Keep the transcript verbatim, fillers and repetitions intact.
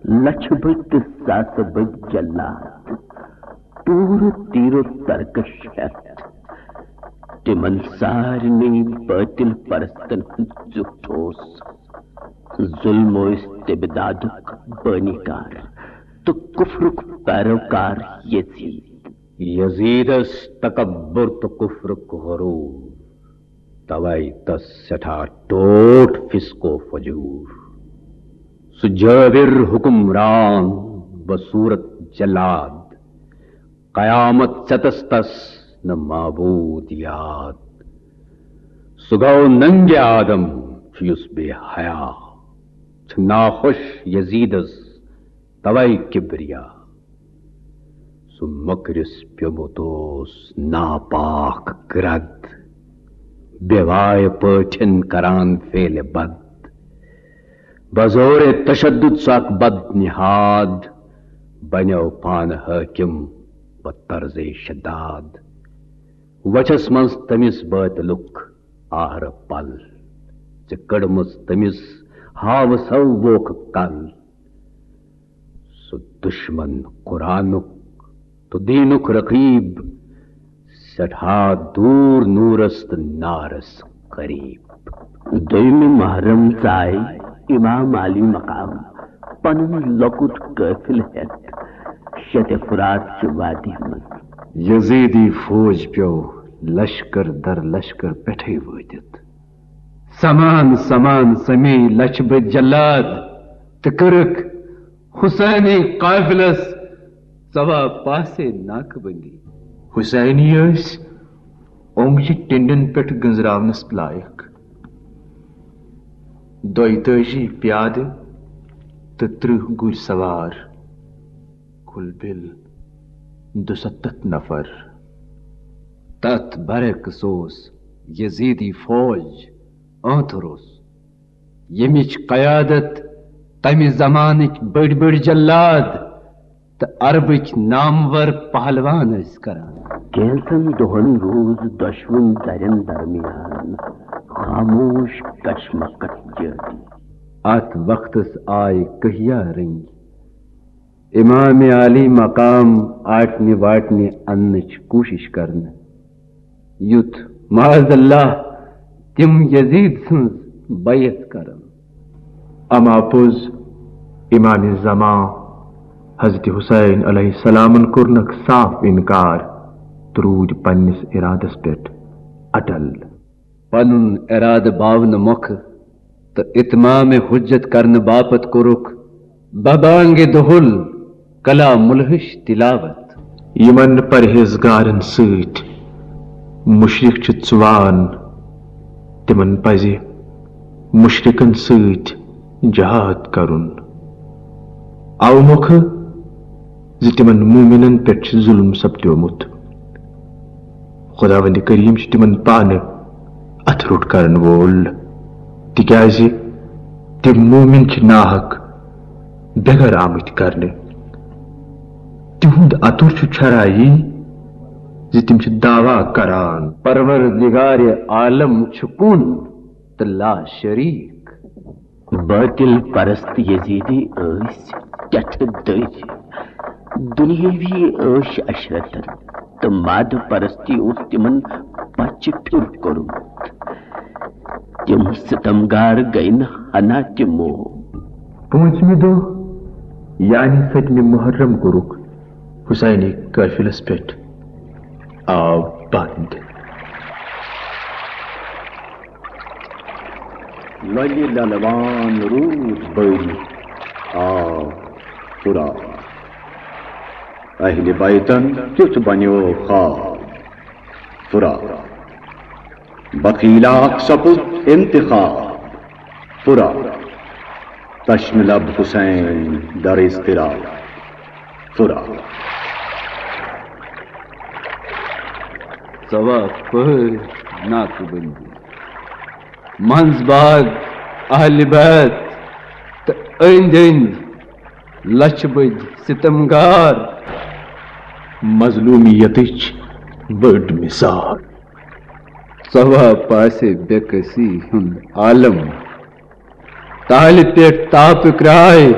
لچھِ بٔدۍ تہٕ ساسہٕ بٔدۍ جلاد، تورٕ تیرو ترکش ہیتھ، تِمن سارنٕے باطل پرستن ہُنٛد زیُٹھ اوس۔ ظلم ٲسۍ تبدادُک بٲنی کار تہٕ کفرُک پیروکار یزید۔ یزیدس تکبر تہٕ کفرُک غرور، توے تس سٮ۪ٹھاہ ٹوٹھ فسق و فجور۔ سُہ جٲبر حکمران، بصورت جلاد، قیامت ژٮ۪تس تس نہٕ معبود یاد۔ سُہ گوٚو ننگہِ آدم، چھُ یُس بے حیا، چھُ ناخۄش یزیدس توے کبریا۔ سُہ مۄکرِس پیوٚمُت اوس ناپاک گرد، بے وایہِ پٲٹھٮ۪ن کران فعلِ بد۔ بزورِ تشدد سُہ اکھ بد نہاد، بنیو پانہٕ حٲکم بطرزِ شداد۔ وچھس منٛز تٔمِس بٲطلُک آہرٕ پل، ژےٚ کٔڑمٕژ تٔمِس ہاوٕ سو ووکھٕ کل۔ سُہ دُشمن قرآنُک تہٕ دیٖنُک رقیب، سٮ۪ٹھاہ دوٗر نوٗرس تہٕ نارس قریب۔ دوٚیمہِ محرم ژاے امام عالی مقام پنُن لۄکُٹ قٲفلہٕ ہٮ۪تھ شیٚتہِ فرات چہِ وادی منٛز۔ یزیدی فوج پیوٚو لشکر در لشکر پٮ۪ٹھے وٲتِتھ۔ سمان سمان سمیے لچھِ بٔدۍ جلاد تہٕ کٔرٕکھ حسینی قافلس ژوا پاسے ناکہٕ بندی۔ حسینی ٲسۍ اوٚنٛگجہِ ٹِنڈٮ۪ن پٮ۪ٹھ گٔنٛزراونس لایق۔ دۄیہِ تٲجی پیادٕ تہٕ ترٕٛہ گُرۍ سوار، کُل بِل دُستتھ نفر۔ تتھ برعکس اوس یزیدی فوج آنتھروس، ییٚمِچ قیادت تمہِ زمانٕکۍ بٔڑۍ بٔڑۍ جلاد تہٕ عربٕکۍ نامور پہلوان ٲسۍ کران۔ کینٛژن دۄہن روٗز دۄشوٕنۍ دَرٮ۪ن درمیان خاموش کشمکش جٲری۔ اتھ وقتس آیہِ کہیا رٔنگۍ امام عالی مقام آٹنہِ واٹنہِ اننٕچ کوٗشش کرنہٕ، یُتھ معاذ اللہ تِم یزید سٕنٛز بیعت کرن۔ اما پوٚز، امام زمان حضرت حسین علیہ السلامن کوٚرنکھ صاف انکار تہٕ روٗدۍ پننِس ارادس پٮ۪ٹھ اٹل۔ پنُن ارادٕ باونہٕ مۄکھٕ تہٕ اتمام حجت کرنہٕ باپتھ کوٚرُکھ ببانگِ دُہُل کلام الہٕچ تلاوت۔ یِمن پرہیزگارن سۭتۍ مُشرِک چھِ ژُوان، تِمن پزِ مُشرِکن سۭتۍ جہاد کرُن۔ اوٕ مۄکھٕ زِ تِمن مومنن پٮ۪ٹھ چھُ ظلم سپدیومُت۔ خداوند کریم چھُ تِمن پانہٕ اتھٕ روٚٹ کرن وول، تِکیازِ تِم مومن چھِ ناحق بے گھر آمٕتۍ کرنہٕ۔ تِہُنٛد اَتُر چھُ چھرا یی زِ تِم چھِ دعویٰ کران، پروردگار عالم چھُ کُن تہٕ لا شریک۔ باطل پرست یزیدی ٲسۍ کتھٕ دٔرۍ، دُنیٲوی عٲش عشرتن تہٕ مادٕ پرستی اوس تِمن پچہِ پھِر کوٚرمُت۔ تِم ستمگار گٔے نہٕ ہنا تہِ موو۔ پوٗنٛژمہِ دۄہ، یعنی سٔتمہِ محرم، کوٚرُکھ حسینی قٲفلس پٮ۪ٹھ آو بند۔ لۄلہِ للوان روٗد بٔلۍ آو فرات۔ اہلِ بیتن کیُتھ بنیو خواب فرات۔ بخیلاک سپُد انتخاب فرات۔ تشنہٕ لب حسین در اضطراب فرات۔ ژوا پٔہر ناکہٕ بندی، منٛز باغ اہلِ بیت تہٕ أنٛدۍ أنٛدۍ لچھِ بٔدۍ ستمگار۔ مظلومیتٕچ بٔڑ مثال۔ ژوا پاسے بے کسی ہُنٛد عالم۔ تالہِ پٮ۪ٹھ تاپہٕ کرٛاے،